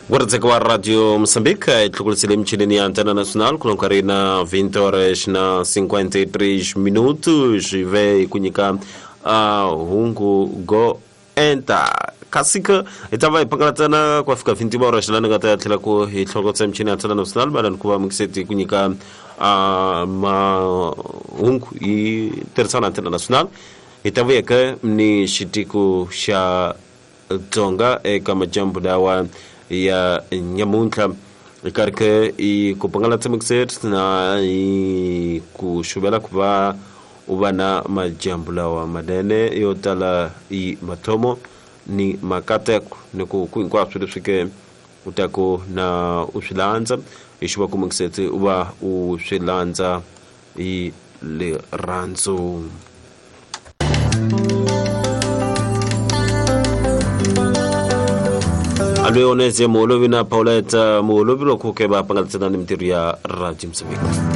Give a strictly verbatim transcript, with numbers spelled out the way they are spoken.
Guardzeka wa Radio Moçambique tlhukulisile michinini ya Antena Nacional ku nkarhi na vinte horas na cinquenta e três minutos ve ku nyika uh, hungu go enta kasika hi ta va hi pangalatana ku fika vinte horas lani nga ta tlhela ku hi tlhokotsa michini ya Antena Nacional malani ku va mukiseti ku nyika uh, mahungu hi tirhisana Antena Nacional hi ta vuyeke ni xitiko xa Tsonga eka majambu lawa ya nyamuntlha karhi i ku pangalatsa mixet na i ku xuvela ku va u va na majambu lawa manene yo tala i mathomo ni makateko ni ku ku hinkwaswo leswi ke u ta ku na u swi landza hi xuva ku mixet u va u swi landza hi rirhandzu. Alwe oneze Muholovi na Paulette Muholovi loko ke va pangalatsa ni mintirho ya Radio Mozambique.